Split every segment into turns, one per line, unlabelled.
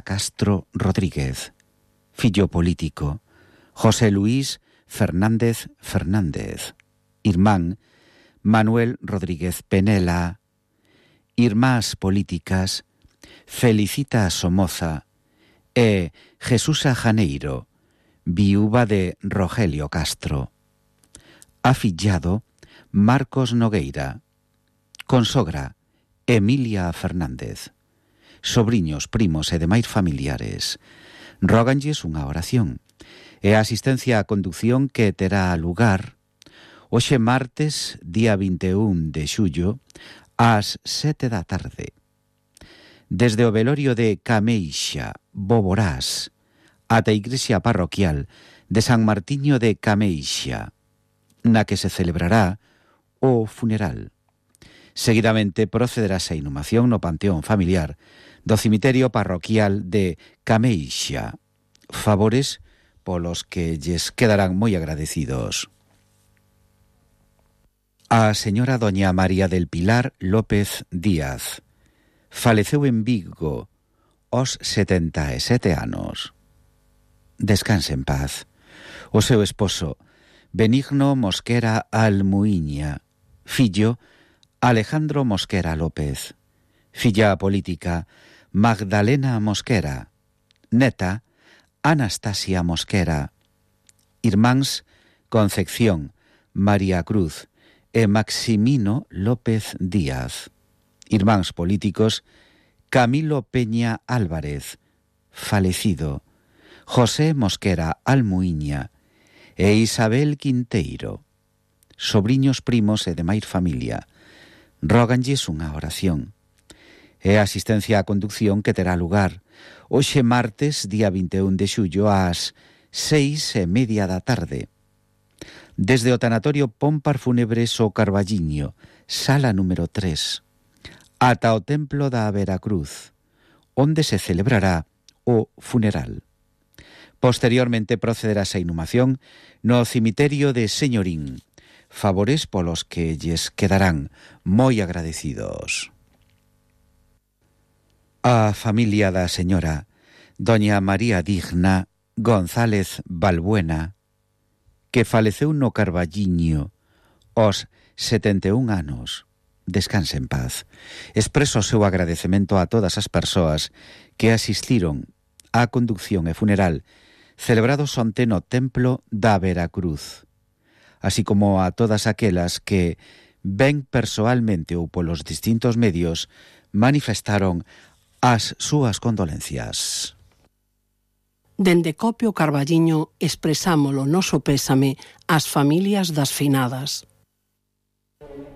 Castro Rodríguez. Fillo político, José Luis Fernández Fernández. Irmán, Manuel Rodríguez Penela. Irmás políticas, Felicita Somoza e Jesusa Janeiro, viúva de Rogelio Castro. Afillado, Marcos Nogueira. Consogra, Emilia Fernández. Sobriños, primos e demais familiares róganlles unha oración e a asistencia á conducción que terá lugar hoxe martes, día 21 de xullo, ás 7 da tarde. Desde o velorio de Cameixa, Boborás, ata a igrexa parroquial de San Martiño de Cameixa, na que se celebrará o funeral. Seguidamente procederase a inhumación no panteón familiar do cemiterio parroquial de Cameixa. Favores polos que lles quedarán moi agradecidos. A señora doña María del Pilar López Díaz faleceu en Vigo aos 77 anos. Descanse en paz. O seu esposo, Benigno Mosquera Almuiña, fillo, Alejandro Mosquera López, filla política, Magdalena Mosquera, neta, Anastasia Mosquera, irmáns, Concepción, María Cruz e Maximino López Díaz, irmáns políticos, Camilo Peña Álvarez, falecido, José Mosquera Almuiña e Isabel Quinteiro, sobriños, primos e demais familia, róganlles unha oración e a asistencia á conducción que terá lugar hoxe martes, día 21 de xullo, ás 6:30 da tarde. Desde o tanatorio Pómpar Fúnebres o Carballiño, sala número 3, ata o templo da Veracruz, onde se celebrará o funeral. Posteriormente procederase a inhumación no cemiterio de Señorín. Favores polos que lles quedarán moi agradecidos. A familia da señora doña María Digna González Balbuena, que faleceu no Carballiño aos 71 anos, descanse en paz. Expreso o seu agradecemento a todas as persoas que asistiron á conducción e funeral celebrados onte no templo da Veracruz, así como a todas aquelas que, ben persoalmente ou polos distintos medios, manifestaron as súas condolencias.
Dende Copio Carballiño expresámolo noso pésame ás familias das finadas.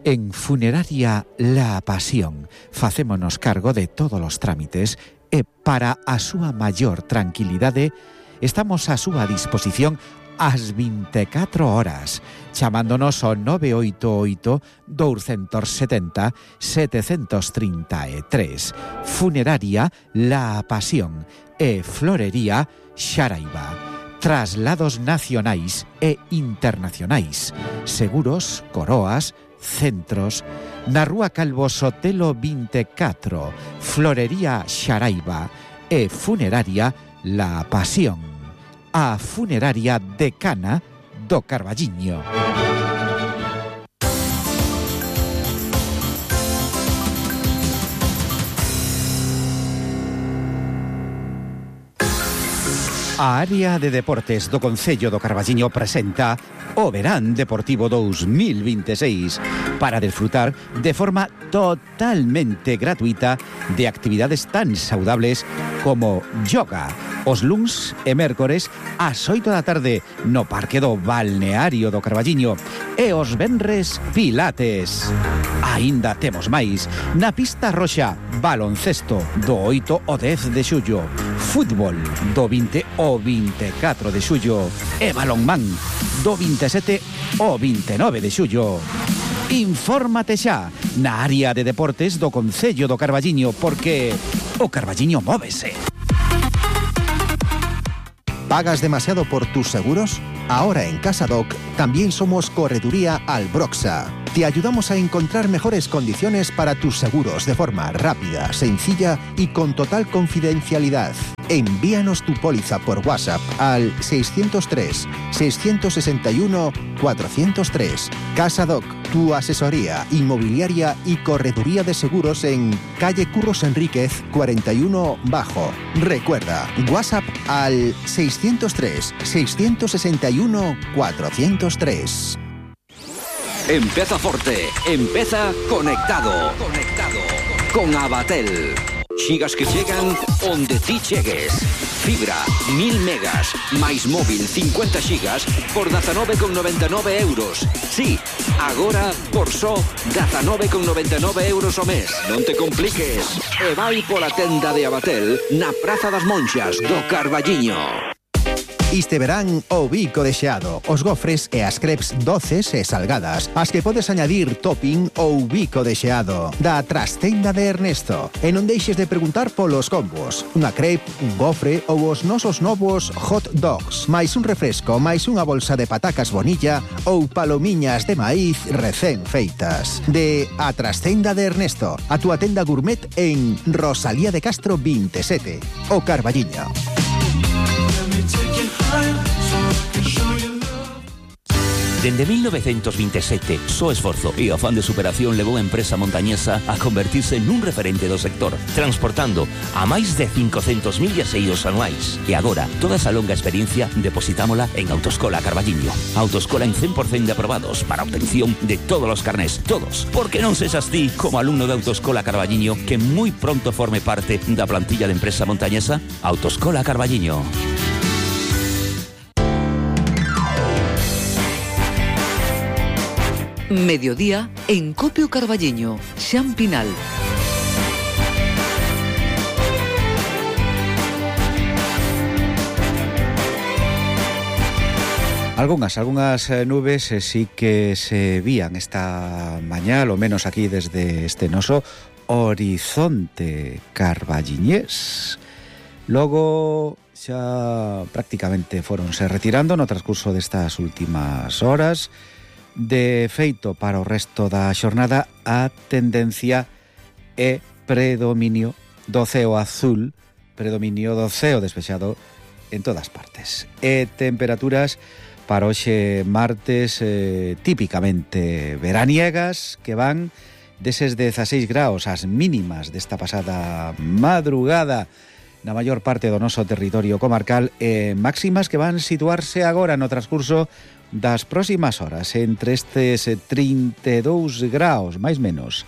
En Funeraria La Pasión facémonos cargo de todos os trámites e para a súa maior tranquilidade estamos á súa disposición ás 24 horas, chamándonos ao 988-270-733. Funeraria La Pasión e Florería Xaraiba. Traslados nacionais e internacionais. Seguros, coroas, centros. Na Rúa Calvo Sotelo 24, Florería Xaraiba e Funeraria La Pasión. A funeraria decana do Carballiño. A área de deportes do Concello do Carballiño presenta o Verán Deportivo 2026 para desfrutar de forma totalmente gratuita de actividades tan saudables como yoga, os luns e mércores ás 8 da tarde no Parque do Balneario do Carballiño e os venres pilates. Aínda temos máis na pista roxa, baloncesto do 8 ao 10 de xullo, fútbol do 20 ao 24 de xullo e balonmán do 27 ao 29 de xullo. Infórmate xa na área de deportes do Concello do Carballiño, porque o Carballiño móvese.
¿Pagas demasiado por tus seguros? Ahora en CasaDoc también somos Correduría Albroxa. Te ayudamos a encontrar mejores condiciones para tus seguros de forma rápida, sencilla y con total confidencialidad. Envíanos tu póliza por WhatsApp al 603-661-403. Casa Doc, tu asesoría inmobiliaria y correduría de seguros en calle Curros Enríquez 41 Bajo. Recuerda, WhatsApp al 603-661-403.
Empeza forte, empeza conectado. Con Abatel. Xigas que chegan onde ti chegues. Fibra, 1000 megas, máis móvil 50 xigas por 19,99 euros. Sí, agora por só 19,99 euros o mes. Non te compliques. E vai pola tenda de Abatel na Praza das Monxas do Carballiño.
Este verán o bico de xeado, os gofres e as crepes doces e salgadas, as que podes añadir topping ou bico de xeado, da Trastenda de Ernesto. E non deixes de preguntar polos combos, unha crepe, un gofre ou os nosos novos hot dogs, máis un refresco, máis unha bolsa de patacas bonilla ou palomiñas de maíz recén feitas. De A Trastenda de Ernesto, a túa tenda gourmet en Rosalía de Castro 27, o Carballiño.
Dende 1927, só esforzo e afán de superación levou a empresa montañesa a convertirse nun referente do sector, transportando a máis de 500.000 viaxeiros anuais. E agora, toda esa longa experiencia depositámola en Autoescola Carballiño. Autoescola en 100% de aprobados para obtención de todos os carnés, todos. Porque non sexas ti, como alumno de Autoescola Carballiño, que moi pronto forme parte da plantilla de empresa montañesa. Autoescola Carballiño.
Mediodía en Copio Carballiño, Xan Pinal.
Algunhas nubes sí que se vían esta mañá, lo menos aquí desde este noso horizonte carballiñés. Logo xa prácticamente foronse retirando no transcurso destas últimas horas. De feito, para o resto da xornada, a tendencia é predominio do ceo azul, predominio do ceo despexado en todas partes. E temperaturas para hoxe martes típicamente veraniegas, que van deses 16 graus as mínimas desta pasada madrugada na maior parte do noso territorio comarcal, e máximas que van situarse agora no transcurso das próximas horas entre estes 32 graus, máis menos,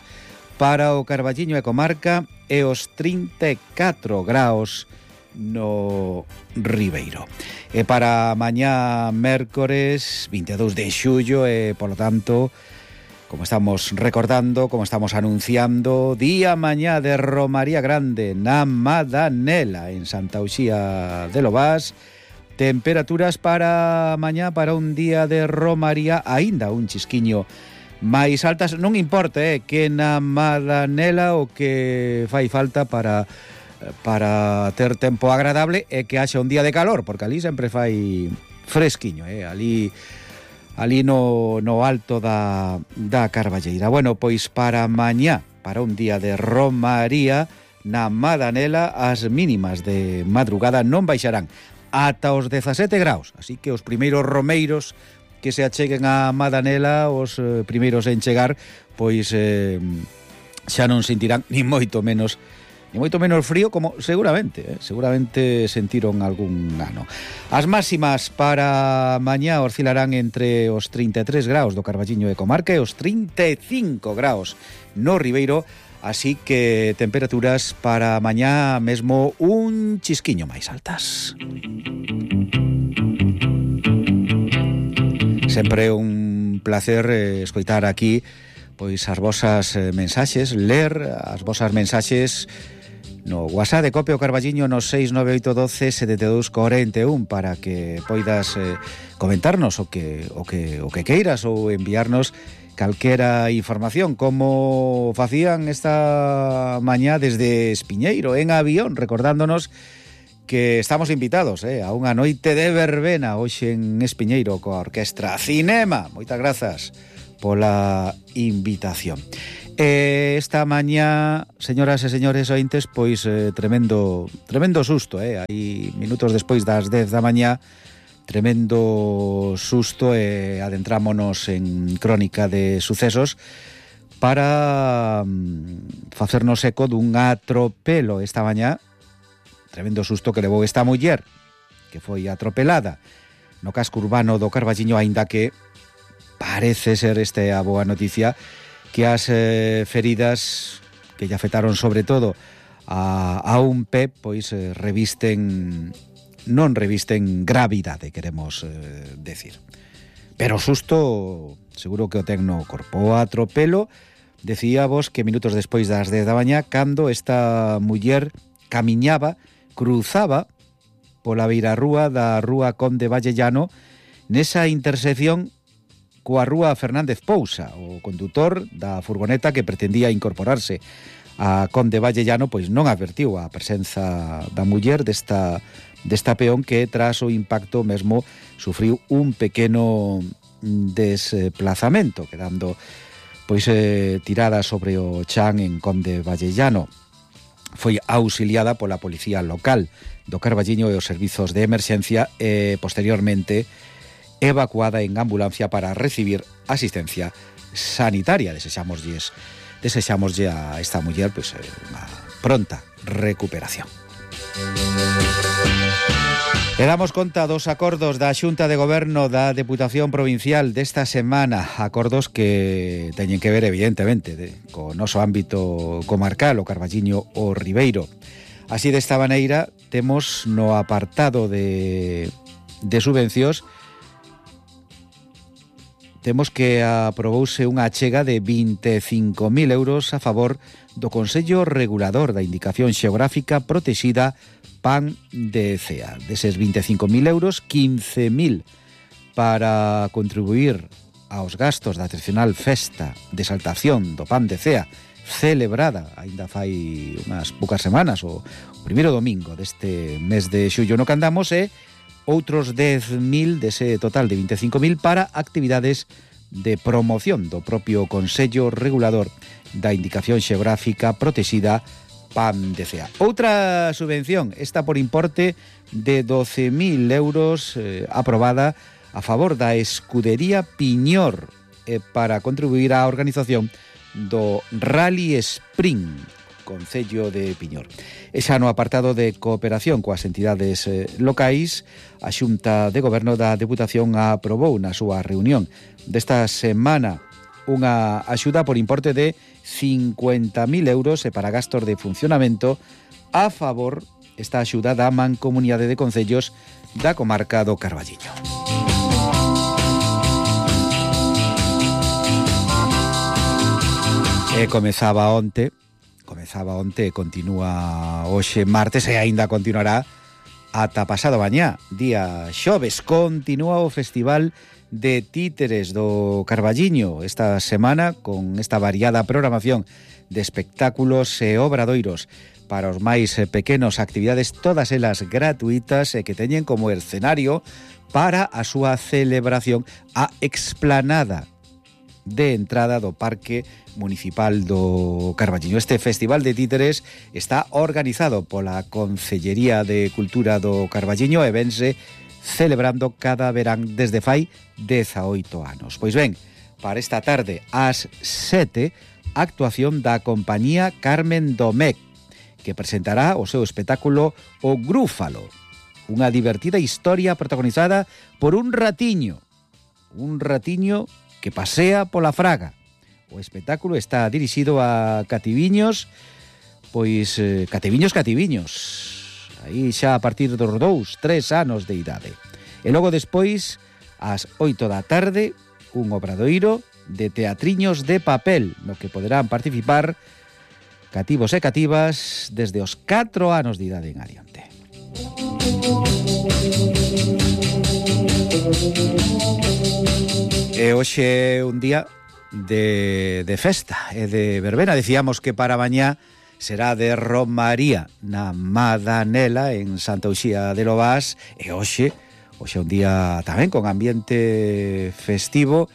para o Carballiño e comarca, e os 34 graus no Ribeiro. E para mañá mércores 22 de xullo, e polo tanto, como estamos recordando, como estamos anunciando, día mañá de Romaría Grande na Madanela, en Santa Uxía de Lobás. Temperaturas para mañá, para un día de romaría, aínda un chisquiño máis altas. Non importa que na Madanela o que fai falta para ter tempo agradable é que haxa un día de calor, porque ali sempre fai fresquiño, ali no alto da Carballeira. Bueno, pois para mañá, para un día de romaría, na Madanela as mínimas de madrugada non baixarán ata os 17 graus, así que os primeiros romeiros que se acheguen a Madanela, os primeiros en chegar, pois xa non sentirán ni moito menos frío, como seguramente sentiron algún ano. As máximas para mañá oscilarán entre os 33 graus do Carballiño e comarca e os 35 graus no Ribeiro. Así que temperaturas para mañá mesmo un chisquiño máis altas. Sempre un placer escoitar aquí pois as vosas mensaxes, ler as vosas mensaxes no WhatsApp de Copio Carballiño no 698127241 para que poidas comentarnos o que queiras ou enviarnos calquera información, como facían esta mañá desde Espiñeiro, en avión, recordándonos que estamos invitados a unha noite de verbena hoxe en Espiñeiro coa Orquestra Cinema. Moitas grazas pola invitación. Esta mañá, señoras e señores ointes, pois tremendo susto, aí minutos despois das 10 da mañá, tremendo susto, e adentrámonos en crónica de sucesos para facernos eco dun atropelo esta mañá, tremendo susto que levou esta muller que foi atropelada no casco urbano do Carballiño, aínda que parece ser a boa noticia que as feridas que lle afectaron sobre todo a un pé, pois non revisten gravidade, queremos decir. Pero susto seguro que o ten no corpo. O atropelo, decíavos que minutos despois das 10 da mañá, cando esta muller cruzaba pola beirarrúa da rúa Conde Vallellano, nesa intersección coa rúa Fernández Pousa. O condutor da furgoneta que pretendía incorporarse a Conde Vallellano pois non advertiu a presenza da muller desta peón, que tras o impacto mesmo sufriu un pequeno desplazamento, quedando pois tirada sobre o chan en Conde Vallellano. Foi auxiliada pola policía local do Carballiño e os servizos de emerxencia e posteriormente evacuada en ambulancia para recibir asistencia sanitaria. Desexámoslle a esta muller pois unha pronta recuperación. E damos conta dos acordos da Xunta de Goberno da Deputación Provincial desta semana, acordos que teñen que ver evidentemente co noso ámbito comarcal, o Carballiño o Ribeiro. Así, desta maneira, temos no apartado de subvencións, temos que aprobouse unha achega de 25.000 euros a favor do Consello Regulador da Indicación Xeográfica Protexida PAN de Cea. Deses 25.000 euros, 15.000 para contribuir aos gastos da tradicional festa de exaltación do PAN de Cea, celebrada aínda fai unhas poucas semanas, o primeiro domingo deste mes de xullo no que andamos, e outros 10.000 dese total de 25.000 para actividades de promoción do propio Consello Regulador da Indicación Xeográfica Protexida PAN de Cea. Outra subvención, esta por importe de 12.000 euros, aprobada a favor da Escudería Piñor, para contribuir á organización do Rally Sprint Concello de Piñor. E xa no apartado de cooperación coas entidades locais, a Xunta de Goberno da Deputación aprobou na súa reunión desta semana unha axuda por importe de 50.000 euros e para gastos de funcionamento a favor esta axuda da Mancomunidade de Concellos da comarca do Carballiño. E comezaba onte e continúa hoxe martes, e aínda continuará ata pasado mañá, día xoves. Continúa o Festival de Títeres do Carballiño esta semana, con esta variada programación de espectáculos e obradoiros para os máis pequenos, actividades todas elas gratuitas e que teñen como escenario para a súa celebración a explanada de entrada do Parque Municipal do Carballiño. Este Festival de Títeres está organizado pola Concellería de Cultura do Carballiño e vense celebrando cada verán desde fai 18 anos. Pois ben, para esta tarde ás 7, actuación da compañía Carmen Domecq, que presentará o seu espectáculo O Grúfalo, unha divertida historia protagonizada por un ratiño que pasea pola fraga. O espectáculo está dirixido a cativiños, pois cativiños. Aí xa a partir dos 2-3 anos de idade. E logo despois, ás 8 da tarde, un obradoiro de teatriños de papel, no que poderán participar cativos e cativas desde os 4 anos de idade en adiante. E hoxe é un día de festa e de verbena. Decíamos que para mañá será de Romaría na Madanela en Santa Uxía de Lobás, e hoxe é un día tamén con ambiente festivo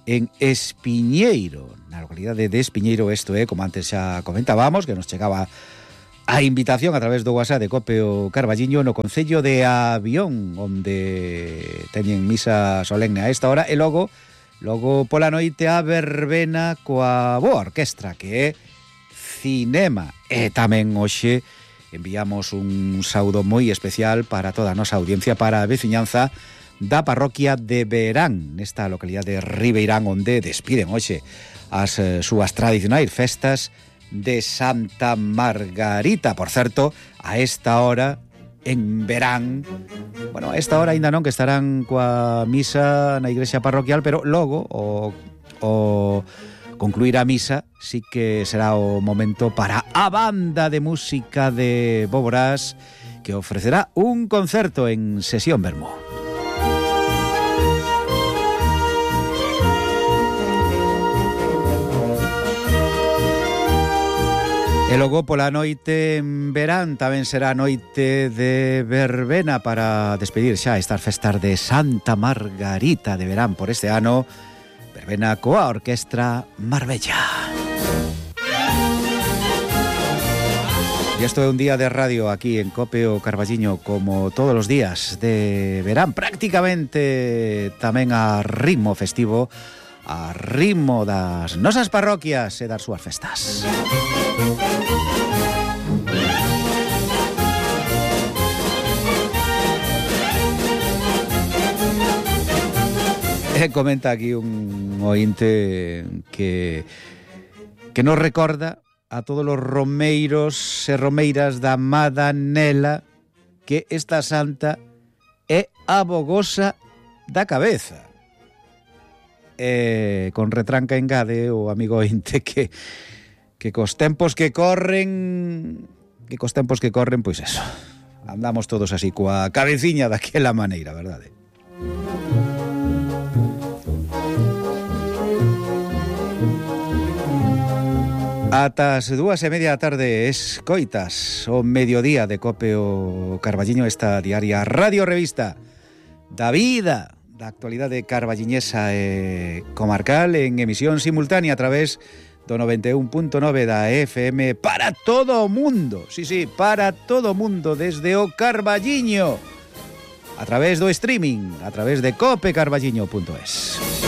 en Espiñeiro, na localidade de Espiñeiro. Isto é, como antes xa comentábamos, que nos chegaba a invitación a través do WhatsApp de Cope o Carballiño, no concello de Avión, onde teñen misa solemne a esta hora, e logo pola noite a verbena coa boa orquestra, que é cinema. E tamén hoxe enviamos un saúdo moi especial para toda a nosa audiencia, para a veciñanza da parroquia de Verán, nesta localidade de Ribeirán, onde despiden hoxe as súas tradicionais festas de Santa Margarita. Por certo, a esta hora en Verán, bueno, a esta hora ainda non, que estarán coa misa na igrexa parroquial, pero logo o concluir a misa sí que será o momento para a banda de música de Boborás, que ofrecerá un concerto en Sesión Vermú. E logo pola noite en Verán tamén será noite de verbena para despedir xa estas festas de Santa Margarita de Verán por este ano. Verbena coa orquestra Marbella. E isto é un día de radio aquí en Cope o Carballiño, como todos os días de verán, prácticamente tamén a ritmo festivo, a ritmo das nosas parroquias e das súas festas. Comenta aquí un ointe que nos recorda a todos os romeiros e romeiras da Madanela que esta santa é a bogosa da cabeza. Con retranca engade o amigo ointe que cos tempos que corren, pois eso, andamos todos así coa cabeciña daquela maneira, verdade? Ata as 2:30 da tarde escoitas o mediodía de Cope o Carballiño, esta diaria radio revista da vida, da actualidade carballiñesa e comarcal, en emisión simultánea a través do 91.9 da FM para todo o mundo. Sí, para todo o mundo, desde o Carballiño, a través do streaming, a través de copecarballiño.es.